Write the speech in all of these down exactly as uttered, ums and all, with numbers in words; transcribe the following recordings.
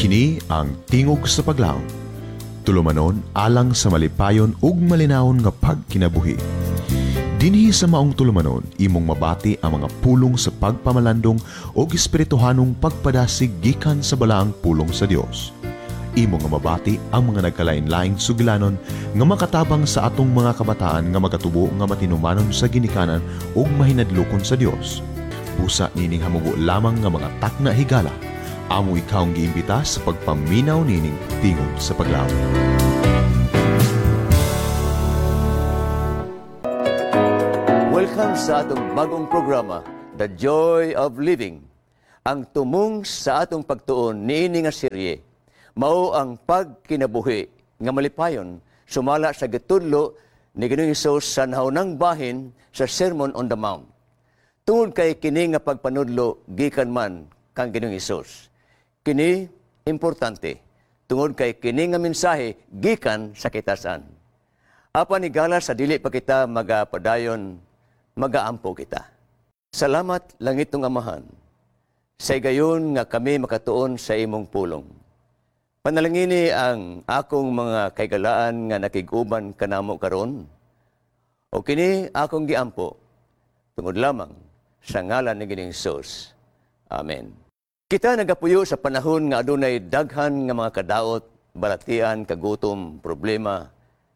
Kini ang Tingog sa Paglaom. Tulumanon alang sa malipayon ug malinawon nga pagkinabuhi. Dinhi sa maong tulumanon, imong mabati ang mga pulong sa pagpamalandong ug espirituhanong pagpadasig gikan sa balaang pulong sa Dios. Imo nga mabati ang mga nagkalain-laing sugilanon nga makatabang sa atong mga kabataan nga magatubo nga matinumanon sa ginikanan ug mahinadlokon sa Dios. Busa nining hamubo lamang nga mga takna higala. Amo ikaw ang giimbita sa pagpaminaw nining Tingog sa Paglaom. Welcome sa atong bagong programa, The Joy of Living. Ang tumong sa atong pagtuon niini nga serye, mao ang pagkinabuhi nga malipayon sumala sa gitudlo ni Ginoong Hesus sa naunang bahin sa Sermon on the Mount. Tungod kay kini nga pagpanudlo gikan man kang Ginoong Hesus. Kini importante tungod kay kini nga mensahe gikan sa kitasan. Apan higala sa dili pa kita magapadayon, magaampo kita. Salamat langitong Amahan sa higayon nga kami makatuon sa imong pulong. Panalangini ang akong mga kaigalaan nga nakig-uban kanamo karon. O kini akong giampo tungod lamang sa ngalan ni Ginoong Hesus. Amen. Kita nagapuyo sa panahon nga adunay daghan nga mga kadaot, balatian, kagutom, problema,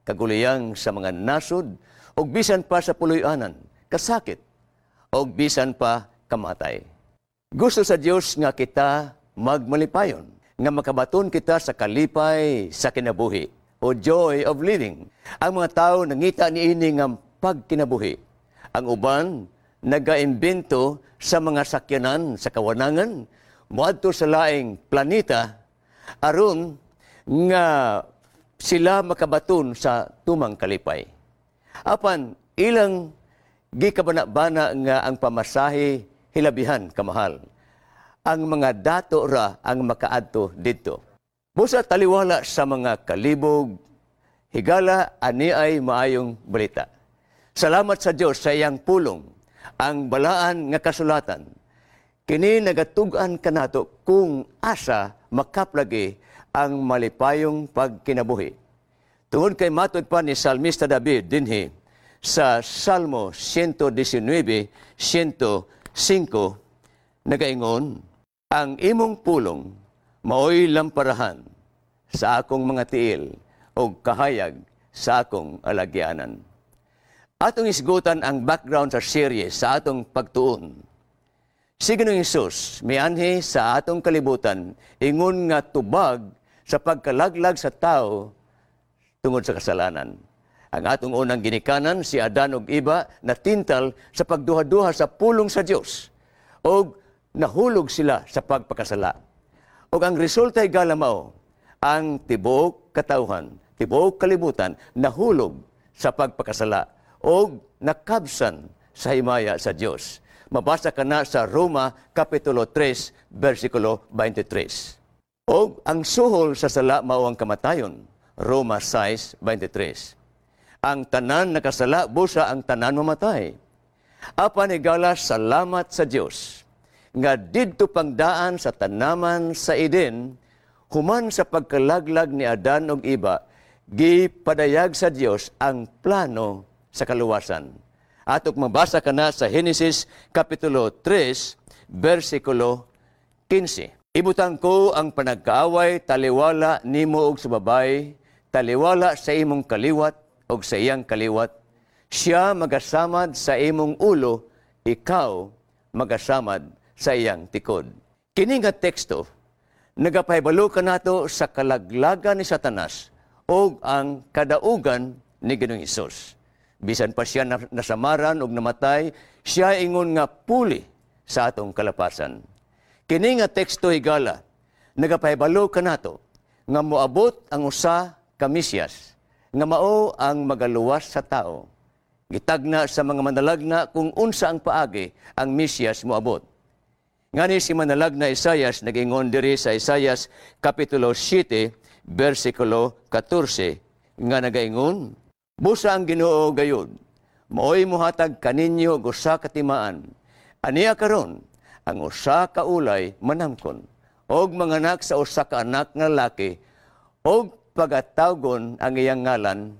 kaguliyang sa mga nasod, ug bisan pa sa puloy-anan, kasakit, ug bisan pa kamatay. Gusto sa Dios nga kita magmalipayon, nga makabaton kita sa kalipay sa kinabuhi o joy of living. Ang mga tao nangita niini nga pagkinabuhi. Ang uban nagaimbento sa mga sakyanan sa kawanangan moadto sa laing planeta aron nga sila makabaton sa tumang kalipay. Apan ilang gikabana-bana nga ang pamasahe hilabihan kamahal. Ang mga dato ra ang makaadto didto. Busa taliwala sa mga kalibog, higala ani ay maayong balita. Salamat sa Dios sa iyang pulong, ang balaan nga kasulatan. Kini nagatug-an kanato kung asa makaplagi ang malipayong pagkinabuhi. Tungod kay matud pa ni Salmista David dinhi sa Salmo one nineteen, one oh five, nagaingon, "Ang imong pulong maoy lamparahan sa akong mga tiil ug kahayag sa akong alagyanan." Atong isgutan ang background sa series sa atong pagtuon. Si Ginoong Hesus mianhi sa atong kalibutan ingon nga tubag sa pagkalaglag sa tao tungod sa kasalanan. Ang atong unang ginikanan, si Adan ug Eva, natintal sa pagduha-duha sa pulong sa Dios ug nahulog sila sa pagpakasala. Ug ang resulta, higala, mao ang tibuok katawhan, tibuok kalibutan nahulog sa pagpakasala ug nakabsan sa himaya sa Dios. Mabasa kana sa Roma Kapitulo three versikulo twenty-three. Og ang suhol sa sala mao ang kamatayon. Roma six twenty-three. Ang tanan nakasala, busa ang tanan mamatay. Apan higala, salamat sa Dios nga didto pang daan sa tanaman sa Eden, human sa pagkalaglag ni Adan ug Eva, gipadayag sa Dios ang plano sa kaluwasan. Atok mabasa kana sa Genesis Kapitulo three versikulo fifteen. "Ibutang ko ang panagkaaway taliwala nimo og sa babaye, taliwala sa imong kaliwat og sa iyang kaliwat. Siya magasamad sa imong ulo, ikaw magasamad sa iyang tikod." Kini nga teksto nagapahibalo kanato sa kalaglagan ni Satanas ug ang kadaugan ni Ginoong Hesus. Bisan pa siya nasamaran ug namatay, siya ingon nga puli sa atong kalapasan. Kini nga teksto, higala, nagapahibalo kanato nga moabot ang usa ka Mesiyas nga mao ang magaluwas sa tao. Gitagna sa mga manalagna kung unsa ang paagi ang Mesiyas moabot. Ngani si manalagna Isayas nagingon diri sa Isayas Kapitulo seven versikulo fourteen nga nagaingon, "Busa ang Ginoo gayud maoy mohatag kaninyo og usa ka timaan. Ania karon ang usa ka ulay manamkon og manganak sa usa ka anak nga lalaki og pagatawgon ang iyang ngalan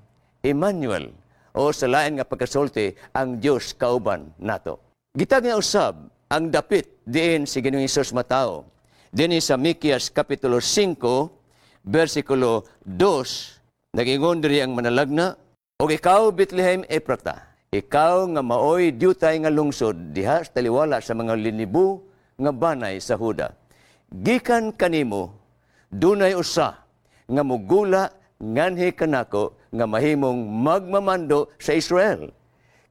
Emmanuel o sa lain nga pagkasulti ang Dios kauban nato. Gitag nga usab ang dapit diin si Ginoong Hesus matawo. Dinhi sa Mikias kapitulo singko versikulo dos, nagingon diri ang manalagna, "Og ikaw, Bethlehem Ephrata, ikaw nga maoy diutay nga lungsod diha sa taliwala sa mga linibo nga banay sa Huda. Gikan kanimo dunay usa nga mugula nganhi kanako nga mahimong magmamando sa Israel.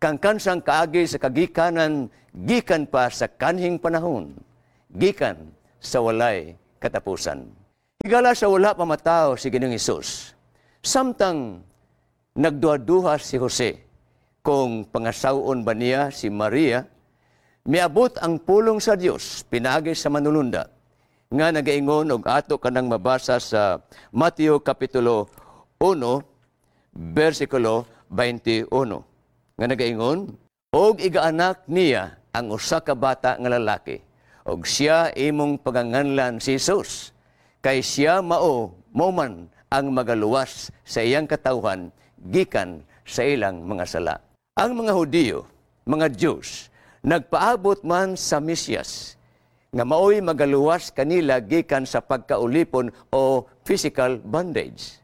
Kangkan sang kaagi sa kagikanan gikan pa sa kanhing panahon, gikan sa walay katapusan." Higala sa wala pa matawo si Ginoong Hesus, samtang nagduha-duha si Jose kung pangasawon ba niya si Maria, miabot ang pulong sa Dios pinaagi sa manulunda nga nagaingon og ato kanang mabasa sa Mateo kapitulo uno versikulo twenty-one nga nagaingon, "Og igaanak niya ang usa ka bata nga lalaki og siya imong paganganlan si Jesus, kay siya mao mao man ang magaluwas sa iyang katawhan gikan sa ilang mga sala." Ang mga Hudiyo, mga Jews, nagpaabot man sa Mesiyas nga maoy magaluwas kanila gikan sa pagkaulipon o physical bondage.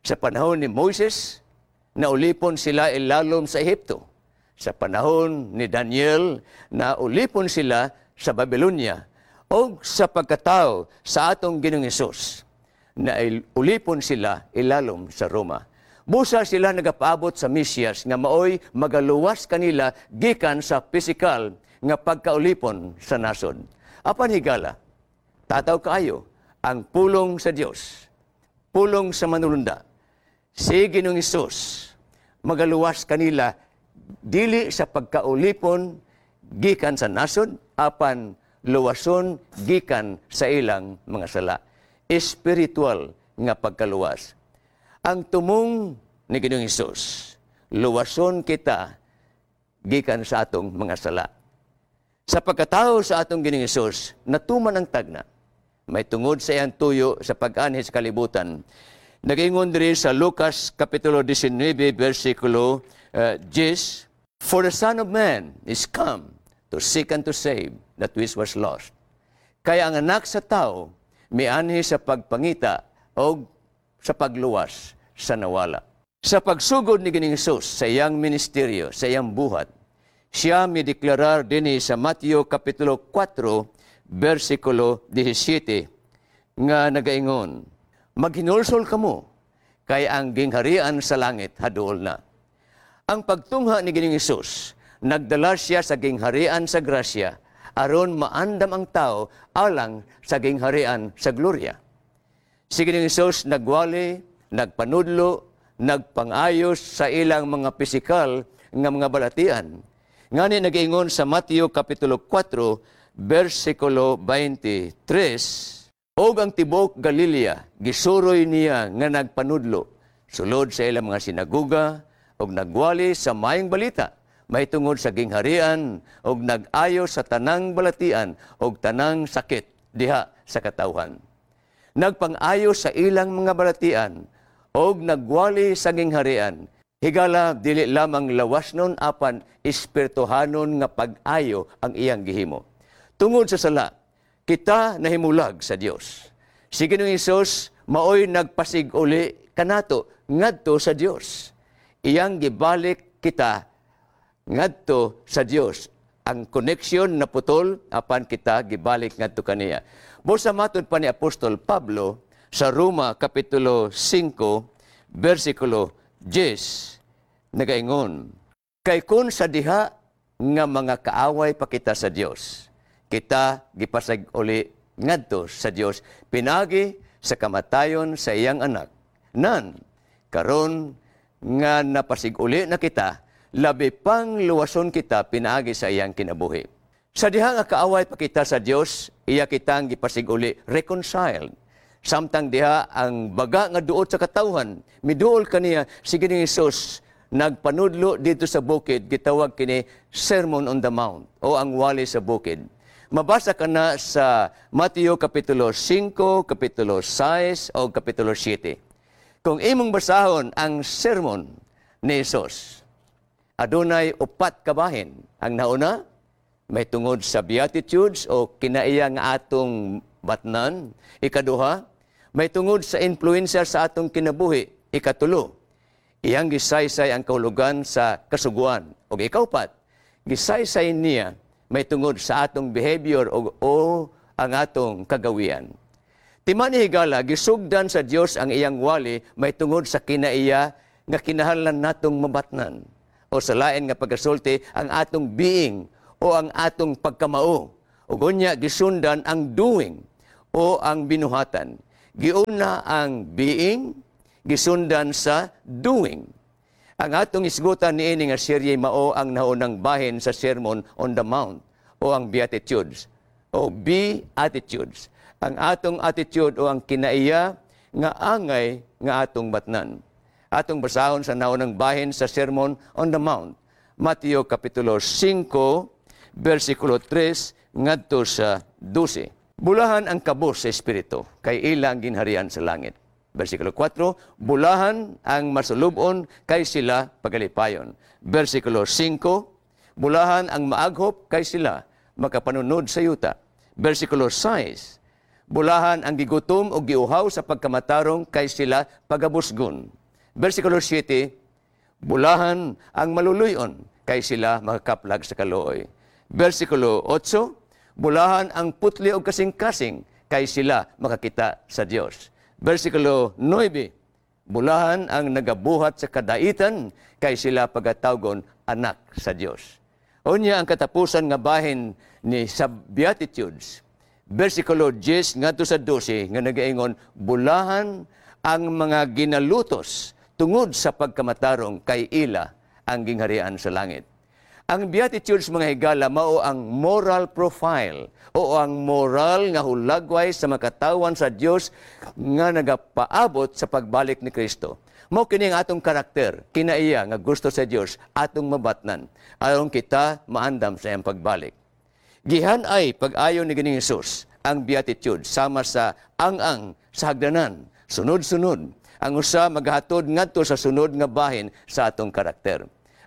Sa panahon ni Moises, naulipon sila ilalom sa Ehipto. Sa panahon ni Daniel, naulipon sila sa Babylonia. O sa pagkatao sa atong Ginoong Hesus, na ulipon sila ilalom sa Roma. Busa sila nagapaabot sa Mesiyas nga maoy magaluwas kanila gikan sa physical nga pagkaulipon sa nasod. Apan higala, tataw kaayo ang pulong sa Dios, pulong sa manulunda. Si Ginoong Hesus magaluwas kanila dili sa pagkaulipon gikan sa nasod, apan luwason gikan sa ilang mga sala. Espiritual nga pagkaluwas. Ang tumong ni Ginoong Hesus, luwason kita gikan sa atong mga sala. Sa pagkatao sa atong Ginoong Hesus, natuman ang tagna. May tungod sa iyang tuyo sa pag-anhi sa kalibutan. Nagingon diri sa Lucas kapitulo nineteen versikulo uh, ten, "For the Son of Man is come to seek and to save that which was lost." Kaya ang anak sa tao mianhi sa pagpangita o sa pagluwas sa nawala. Sa pagsugod ni Ginoong Hesus sa iyang ministeryo, sa iyang buhat, siya mideklarar dinhi sa Mateo kapitulo four versikulo seventeen nga nagaingon, "Maghinulsol kamo, kay ang gingharian sa langit haduol na." Ang pagtungha ni Ginoong Hesus, nagdala siya sa gingharian sa grasya aron maandam ang tao alang sa gingharian sa gloria. Si Ginoong Hesus nagwali, nagpanudlo, nagpangayos sa ilang mga pisikal nga mga balatian. Ngani nagaingon sa Mateo kapitulo four versikulo twenty-three, "Og ang tibuok Galilea gisuroy niya nga nagpanudlo sulod sa ilang mga sinaguga og nagwali sa maayong balita mahitungod sa gingharian og nag-ayo sa tanang balatian og tanang sakit diha sa katawhan." Nagpang-ayo sa ilang mga balatian og nagwali sa gingharian. Higala dili lamang lawasnon apan espirituhanon nga pag-ayo ang iyang gihimo. Tungod sa sala, kita nahimulag sa Dios. Si Ginoong Hesus maoy nagpasig-uli kanato ngadto sa Dios. Iyang gibalik kita ngadto sa Dios. Ang connection na putol apan kita gibalik ngadto kaniya. Busa matud pa ni Apostol Pablo sa Roma kapitulo singko versikulo ten, nagaingon, "Kay kun sa diha nga mga kaaway pa kita sa Dios, kita gipasag-uli ngadto sa Dios pinagi sa kamatayon sa iyang anak. Nan karon nga napasig-uli na kita, labi pang luwason kita pinaagi sa iyang kinabuhi." Sa diha nga kaaway pa kita sa Dios, iya kitang gipasig-uli, reconciled. Samtang diha ang baga nga duot sa katawhan, miduol kaniya, si Ginoong Hesus nagpanudlo dito sa bukid, gitawag kini Sermon on the Mount o ang wali sa bukid. Mabasa ka na sa Mateo Kapitulo singko, Kapitulo sais, o Kapitulo siyete. Kung imong basahon ang sermon ni Jesus, adunay upat kabahin. Ang nauna, may tungod sa Beatitudes o kinaiya nga atong batnan. Ikaduha, may tungod sa influencer sa atong kinabuhi. Ikatulo, iyang gisaysay ang kahulugan sa kasuguan. O ikaupat, gisaysay niya may tungod sa atong behavior o, o ang atong kagawian. Timan ni higala, gisugdan sa Dios ang iyang wali may tungod sa kinaiya nga kinahanglan natong mabatnan. O sa lain nga pagkasulti, ang atong being o ang atong pagkamao. O gunya, gisundan ang doing o ang binuhatan. Giuna ang being, gisundan sa doing. Ang atong isgutan niini nga serye mao ang naunang bahin sa Sermon on the Mount o ang Beatitudes o Beatitudes. Ang atong attitude o ang kinaiya nga angay nga atong batnan. Atong basahon sa naunang bahin sa Sermon on the Mount. Mateo Kapitulo singko, versikulo tres ngadto sa dose. Bulahan ang kabos sa espiritu, kay ilang ginharian sa langit. Versikulo kwatro, bulahan ang masulubon kay sila pagalipayon. Versikulo singko, bulahan ang maaghop kay sila makapanunod sa yuta. Versikulo sais, bulahan ang gigutom o giuhaw sa pagkamatarong kay sila pagabusgon. Versikulo siyete, bulahan ang maluluyon kay sila makakaplag sa kaluoy. Versikulo otso, bulahan ang putli o kasing-kasing kay sila makakita sa Dios. Versikulo nuebe, bulahan ang nagabuhat sa kadaitan kay sila pagatawgon anak sa Dios. Unya ang katapusan nga bahin ni sa Beatitudes. Versikulo diyes ngadto sa dose nga nagaingon, bulahan ang mga ginalutos tungod sa pagkamatarong kay ila ang gingharian sa langit. Ang Beatitudes mga higala mao ang moral profile o ang moral nga hulagway sa makatawan sa Dios nga nagapaabot sa pagbalik ni Kristo. Mao kini ang atong karakter, kinaiya nga gusto sa Dios atong mabatnan aron kita maandam sa iyang pagbalik. Gihan ay pag-ayo ni Ginoong Hesus ang Beatitude sama sa ang-ang sa hagdanan, sunod-sunod. Ang usa maghatod ngadto sa sunod nga bahin sa atong karakter.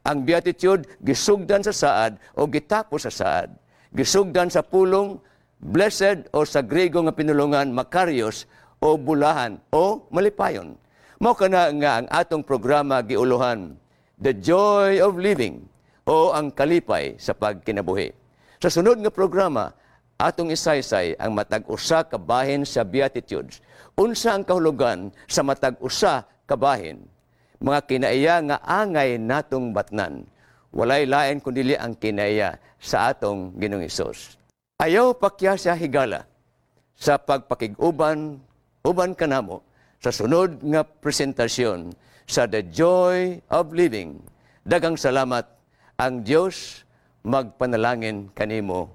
Ang Beatitude gisugdan sa saad o gitapos sa saad. Gisugdan sa pulong blessed o sa Grego nga pinulungan makarios o bulahan o malipayon. Mao kana nga ang atong programa giuluhan The Joy of Living o ang kalipay sa pagkinabuhi. Sa sunod nga programa, atong isaysay ang matag usa ka bahin sa Beatitudes. Unsa ang kahulugan sa matag usa ka bahin? Mga kinaiya nga angay natong batnan. Walay lain kundi ang kinaiya sa atong Ginoong Hesus. Ayaw pakya sa higala sa pagpakig-uban, uban kanamo sa sunod nga presentasyon sa The Joy of Living. Daghang salamat, ang Dios magpanalangin kanimo.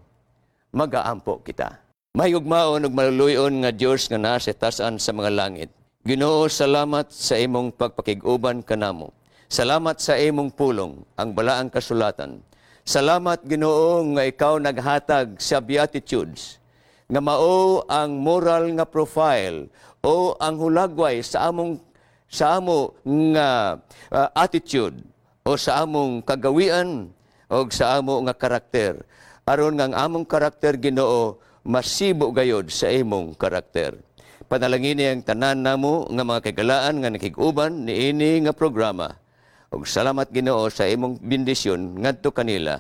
Magaampo kita. Mahigugmaon ug maluluy-on nga Dios nga naa sa taas-an sa mga langit. Ginoo, salamat sa imong pagpakig-uban kanamo. Salamat sa imong pulong, ang balaang kasulatan. Salamat, Ginoo, nga ikaw naghatag sa Beatitudes, nga mao ang moral nga profile o ang hulagway sa among, sa amo nga uh, attitude o sa among kagawian o sa amo nga karakter. Aron nga ang among karakter, Ginoo, masibo gayod sa imong karakter. Panalangini ang tanan namo nga mga kagalaan nga nakig-uban niini nga programa. Ug salamat Ginoo sa imong bendisyon ngadto kanila.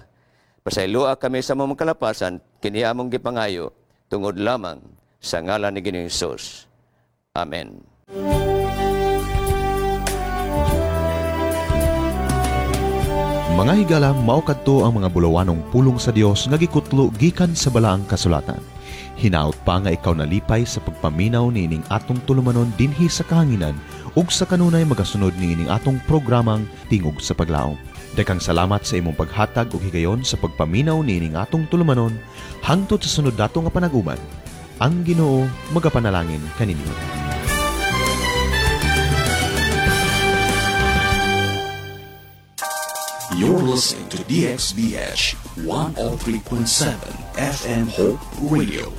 Pasayloa kami sa among kalapasan kini among gipangayo tungod lamang sa ngalan ni Ginoong Hesus. Amen. Mga higala, mao kadto ang mga bulawanong pulong sa Dios nga gikutlo gikan sa balaang kasulatan. Hinaut pa nga ikaw nalipay sa pagpaminaw niining atong tulumanon dinhi sa kahanginan ug sa kanunay magasunod niining atong programang Tingog sa Paglaom. Daghang salamat sa imong paghatag og higayon sa pagpaminaw niining atong tulumanon hangtod sa sunod nato nga panag-uban. Ang Ginoo magapanalangin kaninyo. You're listening to D X B H one oh three point seven F M Hope Radio.